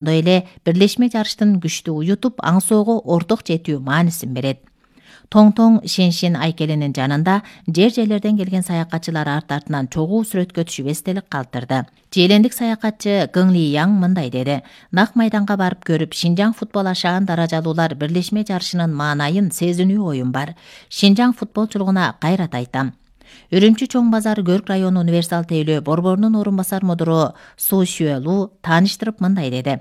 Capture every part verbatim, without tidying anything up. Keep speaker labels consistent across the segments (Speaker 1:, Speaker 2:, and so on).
Speaker 1: Ошондой эле бирлешме жарыштын күчтүү уютуп, аңсоого орток жетүү маанисин берет. Тоң-тоң Шеншин айкелинин жанында жер-жерлерден келген саякатчылар арт-артынан чогуу сүрөткө түшүп эстелик калтырды. Желендик саякатчы Гың Ли Яң мындай деди: "Нак майданга барып көрүп, Шинжаң футбол ашаан даражалуулар бирлешме жарышынын маанайын сезинүү оюм бар. Шинжаң футболчулугуна кайрат айтам. Үрүмчү чоң базар Көрк району универсал тейлөө борборунун орун басар мудуру Су Шүэлу тааныштырып мындай деди: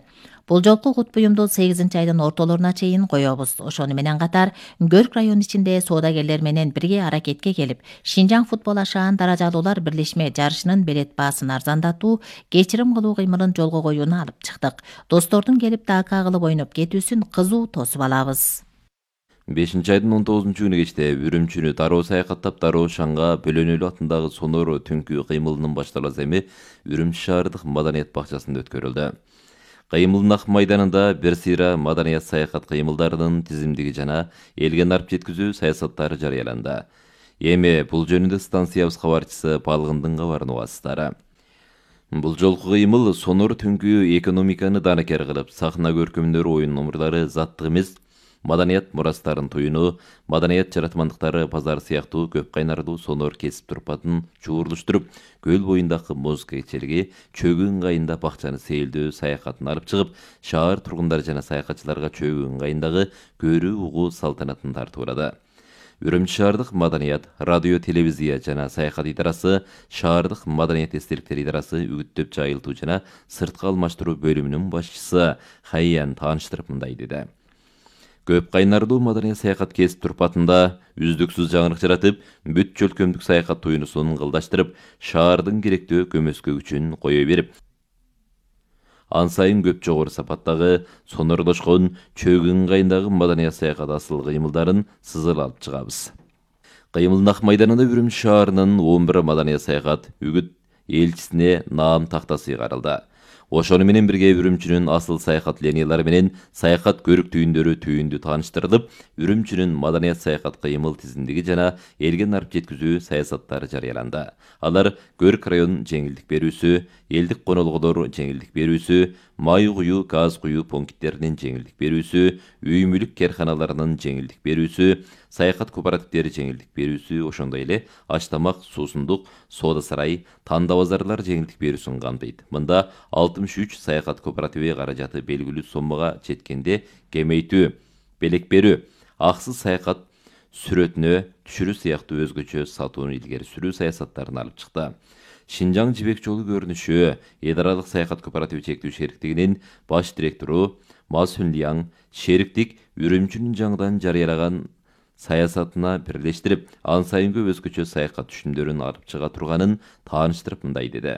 Speaker 1: Бул жолку кут буюмду сегизинчи айдын ортолоруна чейин коебуз. Ошону менен катар Көрк району ичинде соодагерлер менен бирге аракетке келип, Шинжаң футбол ашаан даражалуулар бирлешме жарышынын билет баасын арзандатуу, кечирим кылуу кыймылын жолго коюуну алып чыктык. Достордун келип дака кылып ойноп кетүүсүн кызуу тосуп алабыз."
Speaker 2: бешинчи айдын он тогузунчу күнү кечте Үрүмчүнү дароо саякаттап дароо Шаңга Бөлөнөлүү атындагы сонор түнкү кыймылынын башталасы эми Үрүмчү шаардык маданият бакчасында өткөрүлдү. Кыймылдын ак майданында бир сыйра маданият саякат кыймылдарынын тизимдиги жана элге нарп жеткизүү саясаттары жарыяланды. Эми бул жөнүндө станциябыз кабарчысы Балгындын кабарын угасыздар. Бул жолку кыймыл сонор түнкү экономиканы данакер кылып, сахна көркөмдөрү оюн номурлары заттык эмес, маданият мурастарын туюну, маданият жаратмандыктары базар сыяктуу көп кайнардуу сонор кесип турпатын чуурлуштуруп, көл боюндагы музыка кечелиги, чөгү ыңгайында бакчаны сейилдөө саякатын алып чыгып, шаар тургундары жана саякатчыларга чөгү ыңгайындагы көрүү угуу салтанатын тартып урады. Үрүмчү шаардык маданият, радио, телевизия жана саякат идарасы, шаардык маданият эстеликтер идарасы үгүттөп жайылтуу жана сырткы алмаштыруу бөлүмүнүн башчысы Хайян тааныштырып мындай деди: "Көп кайнардуу маданият саякат кесип турпатында үздүксүз жаңырык жаратып, бүт чөлкөмдүк саякат туюнусун ыңгылдаштырып, шаардын керектүү көмөскө күчүн кое берип, ан сайын көп жогору сапаттагы, сонорлошкон, чөгү ыңгайындагы маданият саякат асыл кыймылдарын сызыла алып чыгабыз." Кыймылдын ак майданында Үрүмчү шаарынын он бир маданият саякат үгүт элчисине наам тактасы кыйгарылды. Ошону менен бирге Үрүмчүнүн асыл саякат линиялары менен саякат көрүк түйүндөрү түйүндү тааныштырылып, Үрүмчүнүн маданият саякат кыймыл тизимдиги жана элге нарп жеткизүү саясаттары жарыяланды. Алар Көрк районунун жеңилдик берүүсү, элдик конолгулор жеңилдик берүүсү, май куюу, газ куюу пункттеринин жеңилдик берүүсү, үй мүлүк керканаларынын жеңилдик берүүсү, саякат кооперативдери жеңилдик берүүсү, ошондой эле аш тамак, суусундук, соода сарай, танда базарлар жеңилдик берүүсүн камтыйт. Мында алтымыш үч саякат кооперативи каражаты белгилүү соммага жеткенде кемейтүү, белек берүү, аксыз саякат сүрөтүнө түшүрүү сыяктуу өзгөчө сатууну илгери сүрүү саясаттарын алып чыкты. Шинжаң жибек жолу көрүнүшү Эдаралык саякат кооперативи чектүү шериктигинин баш директору Ма Сүн Лияң шериктик Үрүмчүнүн жаңыдан жарыялаган саясатына бирлештирип, ан сайынкы өзгөчө саякат түшүмдөрүн алып чыга турганын тааныштырып мындай деди: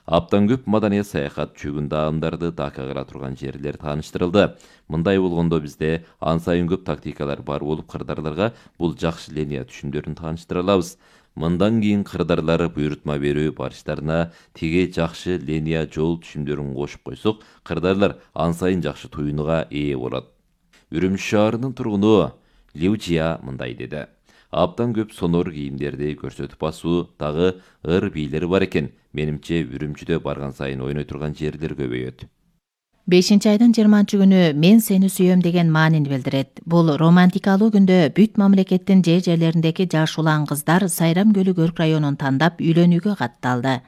Speaker 2: "Аптан көп маданият саякат чөгүн даамдарды дака кыла турган жерлер тааныштырылды. Мындай болгондо бизде ан сайын көп тактикалар бар болуп, кырдаарларга бул жакшы линия түшүмдөрүн тааныштыра алабыз. Мындан кийин кырдаарлар буйрутма берүү барыштарына тиги жакшы линия жол түшүмдөрүн кошуп койсок, кырдаарлар ан сайын жакшы туюнуга ээ болот." Үрүмчү шаарынын тургуну Лиу Жия мындай деди: "Аптан көп сонор кийимдерди көрсөтүп басуу дагы ыр бийлери бар экен. Менимче Үрүмчүдө барган сайын ойной турган жерлер көбөйөт."
Speaker 1: бешинчи айдын жыйырманчы күнү "Мен сени сүйөм" деген маанин билдирет. Бул романтикалуу күндө бүт мамлекеттин жер жерлериндеги жаш улан кыздар Сайрам көлү Көрк районун тандап үйлөнүүгө катталды.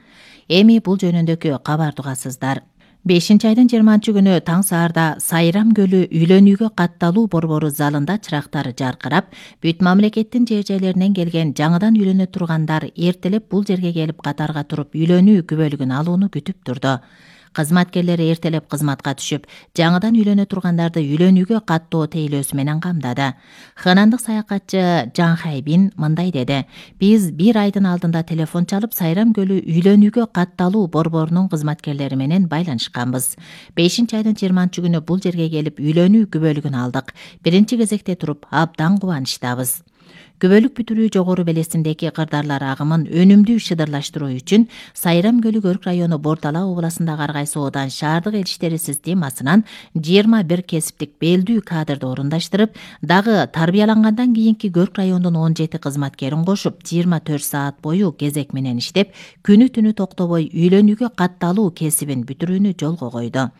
Speaker 1: Эми бул жөнүндөгү кабарды угасыздар. бешинчи айдын жыйырманчы күнү таң саарда Сайрам көлү үйлөнүүгө катталуу борбору залында чырактар жаркырап, бүт мамлекеттин жер жерлеринен келген жаңыдан үйлөнө тургандар эртелеп бул жерге келип катарга туруп үйлөнүү күбөлүгүн алууну күтүп турду. Кызматкерлери эртелеп кызматка түшүп, жаңыдан үйлөнө тургандарды үйлөнүүгө каттоо тейлөөсү менен камдады. Ханандык саякатчы Жан Хайбин мындай деди: "Биз бир айдын алдында телефон чалып, Сайрам көлү үйлөнүүгө катталуу борборунун кызматкерлери менен байланышканбыз. бешинчи айдын жыйырманчы күнү бул жерге келип үйлөнүү күбөлүгүн алдык. Биринчи кезекте туруп абдан кубанычтабыз. Күбөлүк бүтүрүү жогору белесиндеги кырдаарлар агымын өнүмдүү шыдырлаштыруу үчүн Сайрам көлү Көрк району Бордала областындагы Аргай соодан шаардык элчиштери системасынан жыйырма бир кесиптик белдүү кадрды орундаштырып, дагы тарбиялангандан кийинки Көрк районунун он жети кызматкерин кошуп, жыйырма төрт саат бою кезек менен иштеп, күнү түнү токтобой үйлөнүүгө катталуу кесибин бүтүрүүнү жолго койду.